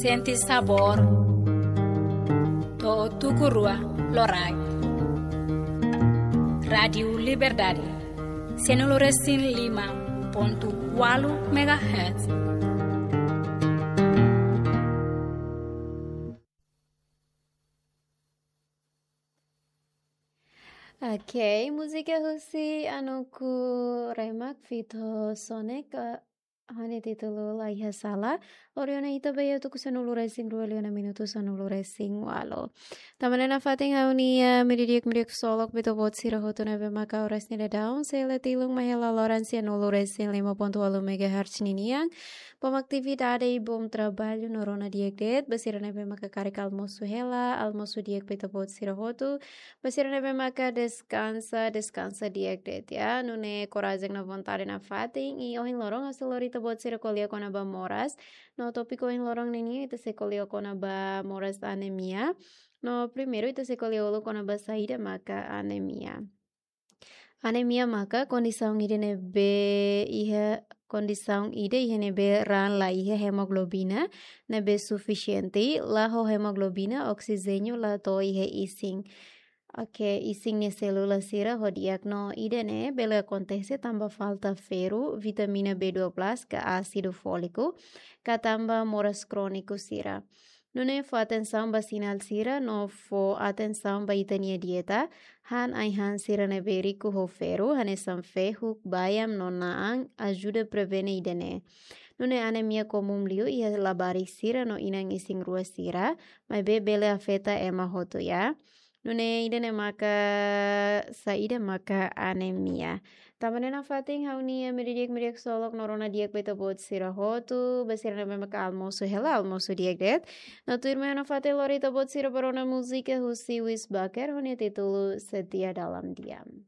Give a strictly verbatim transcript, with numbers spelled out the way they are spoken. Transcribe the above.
Sente sabór. To'o tuku rua loraik. Rádiu Liberdade. Sanulu resin lima pontu ualu megahertz. Ok, múzika husi Anuku Remak feat Sonic, eh, ho nia títulu La Iha Sala. Lori ona ita ba iha tuku sanulu resin rua liu ona minutu sanulu resin ualu. Tanba ne'e nafatin ha'u-nia, eh, meiudia di'ak, meiudia ksolok ba ita-boot sira hotu ne'ebé maka oras ne'e daudaun sei la tilun mai hela loron sanulu resin lima pontu ualu megahertz ninian. Bom atividade i bom trabalho no rona di'ak de'it. Ba sira ne'ebé maka karik almosu hela, almosu di'ak ba ita-boot sira hotu. Ba sira ne'ebé maka deskansa, deskansa di'ak de'it, ya. Nune'e korajen no vontade nafatin. I ohin loron ha'u sei lori ita-boot sira ko'alia kona-ba moras. No tópiku ohin loron ninian ita sei ko'alia kona-ba moras anemia. No primeiru ita sei ko'alia uluk kona-ba saida maka anemia. Anemia maka kondisaun ida ne'ebé iha, kondisaun ida iha ne'ebé raan la iha hemoglobina ne'ebé sufisiente, la ho hemoglobina, oksijéniu la to'o iha isin. Ok, isin nia sélula sira ho di'ak no ida-ne'e bele akontese tanba falta ferru, vitamina B dua belas ka ásidu fóliku, ka tanba moras króniku sira. Nune'e fó atensaun ba sinál sira no fó atensaun ba ita-nia dieta, han ai-han sira ne'ebé riku ho ferru, hanesan fehuk, baian no na'an, ajuda prevene ida-ne'e. Nune'e anemia komún liu iha labarik sira no inan isin-rua sira, maibé bele afeta ema hotu, ya. Nune'e ida-ne'e maka saida maka anemia. Tanba ne'e nafatin ha'u-nia meiudia di'ak, meiudia ksolok no rona di'ak ba ita-boot sira hotu, ba sira ne'ebé maka almosu hela, almosu di'ak de'it. No tuirmai ha'u nafatin lori ita-boot sira ba rona múzika husi Wis Baker ho nia títulu Setia Dalam Diam.